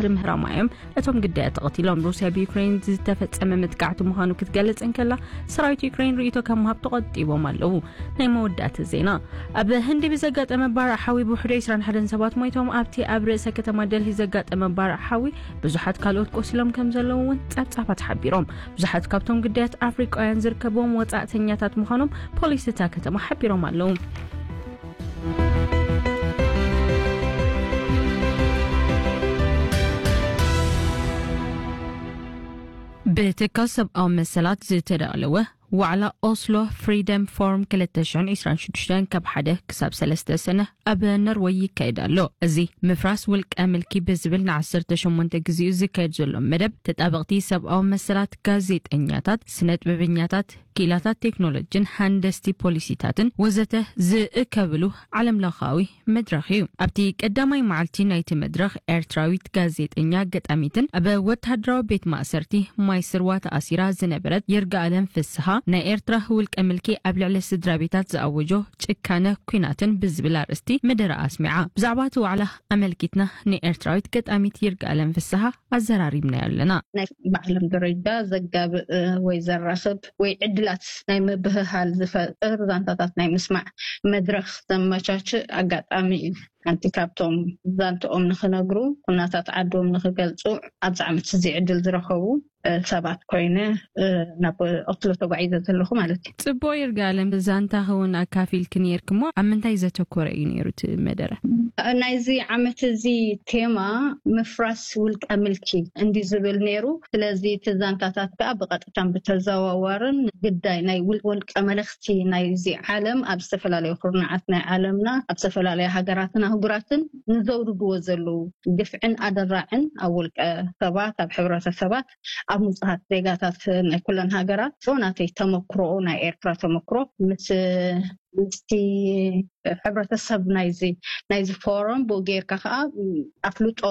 ድምህራማ እዮም እቶም ግዳያት ተቐቲሎም። ሩስያ ብዩክሬን ዝተፈጸመ መጥቃዕቲ ምዃኑ ክትገልጽ እንከላ፣ ሰራዊት ዩክሬን ርእይቶ ካብ ምሃብ ተቖጢቦም ኣለዉ። ናይ መወዳእቲ ዜና። ኣብ ህንዲ ብዘጋጠመ ባርዕ ሓዊ ብውሕዱ ዕስራን ሓደን ሰባት ሞይቶም። ኣብቲ ኣብ ርእሰ ከተማ ደልሂ ዘጋጠመ ባርዕ ሓዊ ብዙሓት ካልኦት ቆሲሎም ከም ዘለዉ እውን ጸብጻባት ሓቢሮም። ብዙሓት ካብቶም ግዳያት ኣፍሪቃውያን ዝርከብዎም ወጻእተኛታት ምዃኖም ፖሊስ እታ ከተማ ሓቢሮም ኣለዉ። ብትካል ሰብኣዊ መሰላት ዝተዳለወ ዋዕላ ኦስሎ ፍሪደም ፎርም ክልተ ሽሕን ዕስራን ሽዱሽተን ካብ ሓደ ክሳብ ሰለስተ ሰነ ኣብ ኖርወይ ይካየድ ኣሎ። እዚ ምፍራስ ውልቀ ምልኪ ብዝብል ንዓሰርተ ሸሞንተ ግዜኡ ዝካየድ ዘሎ መደብ፣ ተጣበቕቲ ሰብኣዊ መሰላት፣ ጋዜጠኛታት፣ ስነ ጥበበኛታት፣ ክኢላታት ቴክኖሎጂን ሃንደስቲ ፖሊሲታትን ወዘተ ዝእከብሉ ዓለምለኻዊ መድረኽ እዩ። ኣብቲ ቀዳማይ መዓልቲ ናይቲ መድረኽ፣ ኤርትራዊት ጋዜጠኛ፣ ገጣሚትን ኣብ ወተሃደራዊ ቤት ማእሰርቲ ማይስርዋ ተኣሲራ ዝነበረት ይርጋኣለም ፍስሃ፣ ናይ ኤርትራ ውልቀ ምልኪ ኣብ ልዕሊ ስድራ ቤታት ዝኣወጆ ጭካነ ኲናትን ብዝብል ኣርእስቲ መደረ ኣስሚዓ። ብዛዕባ እቲ ዋዕላ ኣመልኪትና ንኤርትራዊት ገጣሚት ይርጋኣለም ፍስሃ ኣዘራሪብናዮ ኣለና። ናይ ብዓለም ደረጃ ዘጋብእ ወይ ዘራኽብ ወይ ዕድላት ናይ ምብህሃል ዝፈጥር ዛንታታት ናይ ምስማዕ መድረኽ ዘመቻችእ ኣጋጣሚ እዩ። ሓንቲ ካብቶም ዛንትኦም ንኽነግሩ፣ ኩነታት ዓዶም ንኽገልጹ ኣብዚ ዓመት እዚ ዕድል ዝረኸቡ ሰባት ኮይነ ናብ ኦስሎ ተጓዒዘ ዘለኹ ማለት እዩ። ጽቡቕ ይርጋለም፣ ዛንታኺ እውን ኣካፊልኪ ነይርኪ እሞ፣ ኣብ ምንታይ ዘተኮረ እዩ ነይሩ እቲ መደረ? ናይዚ ዓመት እዚ ቴማ ምፍራስ ውልቀ ምልኪ እንዲ ዝብል ነይሩ። ስለዚ እቲ ዛንታታት ከዓ ብቐጥታን ብተዘዋዋርን ግዳይ ናይ ውል-፣ ውልቀ መለኽቲ ናይዚ ዓለም ኣብ ዝተፈላለዩ ኩርናዓት ናይ ዓለምና፣ ኣብ ዝተፈላለዩ ሃገራትን ኣህጉራትን ንዘውርድዎ ዘለዉ ግፍዕን ኣደራዕን ኣብ ውልቀ ሰባት፣ ኣብ ሕብረተሰባት፣ ኣብ ንጹሃት ዜጋታት ናይ ኩለን ሃገራት፣ ናተይ ተመክሮኡ፣ ናይ ኤርትራ ተመክሮ ምስ፣ ምስቲ ሕብረተሰብ ናይዚ፣ ናይዚ ፎረም ብኡ ጌርካ ከዓ ኣፍልጦ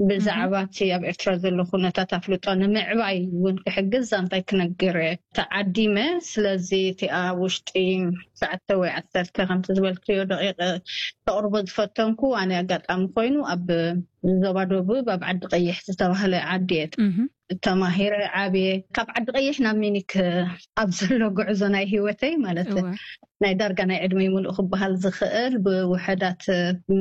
ብዛዕባ እቲ ኣብ ኤርትራ ዘሎ ኩነታት ኣፍልጦ ንምዕባይ እውን ክሕግዝ ዛንታይ ክነግር ተዓዲመ። ስለዚ እቲ ኣብ ውሽጢ ትሽዓተ ወይ ዓሰርተ ከምቲ ዝበልክዮ ደቂቕ ተቕርቦ ዝፈተንኩ፣ ኣነ ኣጋጣሚ ኮይኑ ኣብ ዞባ ደቡብ ኣብ ዓዲ ቀይሕ ዝተባህለ ዓዲ እየ እህ። ተማሂረ ዓብየ። ካብ ዓዲ ቀይሕ ናብ ሚኒክ ኣብ ዘሎ ጉዕዞ ናይ ህይወተይ ማለት እወ። ናይ ዳርጋ ናይ ዕድመይ ሙሉእ ክበሃል ዝኽእል ብውሕዳት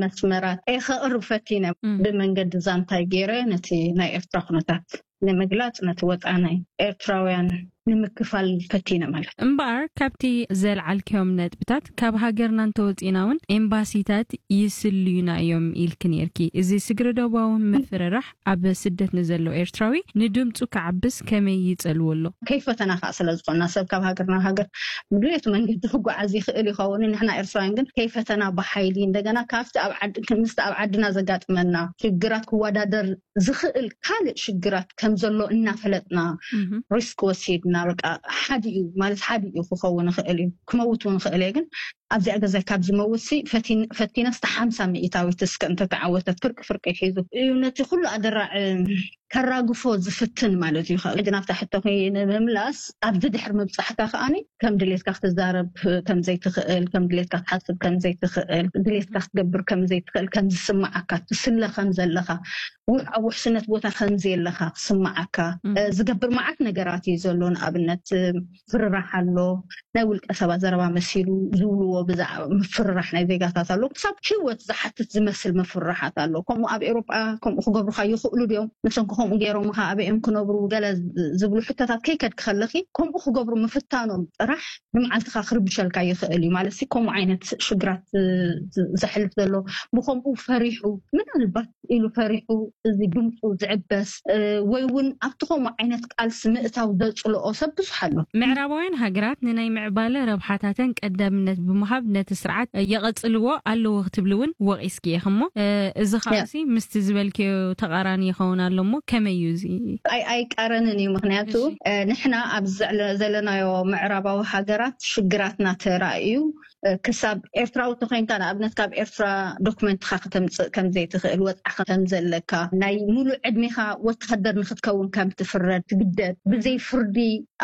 መስመራት እየ ከቕርብ ፈቲነ። እም። ብመንገዲ ዛንታይ ገይረ ነቲ ናይ ኤርትራ ኩነታት ንምግላጽ፣ ነቲ ወጻ ናይ ኤርትራውያን ንምክፋል ፈቲነ ማለት። እምበኣር፣ ካብቲ ዘልዓልክዮም ነጥብታት፣ ካብ ሃገርና እንተወጺና እውን ኤምባሲታት ይስልዩና እዮም ኢልኪ ነይርኪ። እዚ ስግረ ዶባዊ ምፍርራሕ ኣብ ስደት ንዘሎ ኤርትራዊ ንድምጹ ክዓብስ ከመይ ይጸልዎ ኣሎ? ከይፈተና ከዓ ስለ ዝኾንና፣ ሰብ ካብ ሃገር ናብ ሃገር ብድሌቱ መንገዲ ክጓዓዝ ይኽእል ይኸውን። ንሕና ኤርትራውያን ግን ከይፈተና ብሓይሊ እንደገና ካብቲ ኣብ ዓድ-፣ ምስቲ ኣብ ዓድና ዘጋጥመና ሽግራት ክወዳደር ዝኽእል ካልእ ሽግራት ከም ዘሎ እናፈለጥና እህ። ሪስክ ወሲድና፣ በቃ ሓዲኡ ማለት ሓዲኡ ክኸውን ይኽእል እዩ፣ ክመውት እውን ይኽእል እየ። ግን ኣብዚኣ ገዛይ ካብ ዝመውት ሲ ፈቲን-፣ ፈቲነስ ሓምሳ ሚእታዊት እስከ እንተተዓወተት ፍርቂ ፍርቂ ሒዙ እዩ ነቲ ኩሉ ኣደራዕ ከራግፎ ዝፍትን ማለት እዩ። ካብ ናብታ ሕቶኺ ንምምላስ፣ ኣብዚ ድሕሪ ምብጻሕካ ከኣኒ ከም ድሌትካ ክትዛረብ ከም ዘይትኽእል፣ ከም ድሌትካ ክትሓስብ ከም ዘይትኽእል፣ ድሌትካ ክትገብር ከም ዘይትኽእል፣ ከም ዝስምዓካ፣ ትስለ ከም ዘለኻ፣ ውሕ-፣ ኣብ ውሕስነት ቦታ ከም ዘየለኻ ክስምዓካ፣ እም። እ፣ ዝገብር መዓት ነገራት እዩ ዘሎ። ንኣብነት፣ እ፣ ፍርራሕ ኣሎ፣ ናይ ውልቀ ሰባት ዘረባ መሲሉ ዝብልዎ ብዛዕባ ምፍርራሕ ናይ ዜጋታት ኣሎ። ክሳብ ህይወት ዝሓትት ዝመስል ምፍርራሓት ኣሎ። ከምኡ ኣብ ኤውሮጳ ከምኡ ክገብሩኻ ይኽእሉ ድዮም? ንሶም ከ ከምኡ ገይሮምኻ ኣበይ እዮም ክነብሩ? ገለ ዝ-፣ ዝብሉ ሕቶታት ከይከድኪ ከለኺ፣ ከምኡ ክገብሩ ምፍታኖም ጥራሕ ንመዓልትኻ ክርብሸልካ ይኽእል እዩ። ማለት ሲ፣ ከምኡ ዓይነት ሽግራት ዝ-፣ ዝ-፣ ዘሕልፍ ዘሎ፣ ብኸምኡ ፈሪሑ፣ ምናልባት ኢሉ ፈሪሑ፣ እዚ ድምፁ ዝዕበስ፣ እ፣ ወይ እውን ኣብቲ ከምኡ ዓይነት ቃልሲ ምእታው ዘፅልኦ ሰብ ብዙሕ ኣሎ። ምዕራባውያን ሃገራት ንናይ ምዕባለ ረብሓታተን ቀዳምነት ብምሃብ ነቲ ስርዓት የቐጽልዎ ኣለዎ ክትብሊ እውን ወቒስኪ ኢኺ እሞ፣ እ፣ እዚ ያ። ከዓሲ ምስቲ ዝበልክዮ ተቓራኒ ይኸውን ኣሎ እሞ፣ ከመይ እዩ እዚ? ኣይ-፣ ኣይቃረንን እዩ። ምኽንያቱ፣ እሺ። እ፣ ንሕና ኣብ ዘለ-፣ ዘለናዮ ምዕራባዊ ሃገራት ሽግራትና ተራእዩ፣ እ፣ ክሳብ ኤርትራዊ ተኾይንካ፣ ንኣብነት፣ ካብ ኤርትራ ዶክመንትኻ ከተምጽእ ከም ዘይትኽእል፣ ወጽዓ ከም ዘለካ፣ ናይ ሙሉእ ዕድሜኻ ወተሃደር ንኽትከውን ከም ትፍረድ፣ ትግደድ፣ ብዘይ ፍርዲ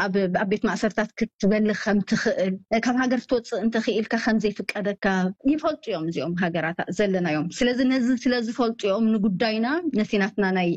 ኣብ፣ ኣብ ቤት ማእሰርታት ክትበሊ ከም ትኽእል፣ እ፣ ካብ ሃገር ክትወጽእ እንተኽኢልካ ከም ዘይፍቀደካ ይፈልጡ እዮም እዚኦም ሃገራት ዘለናዮም። ስለዚ ነዚ ስለ ዝፈልጡ እዮም ንጉዳይና፣ ነቲ ናትና ናይ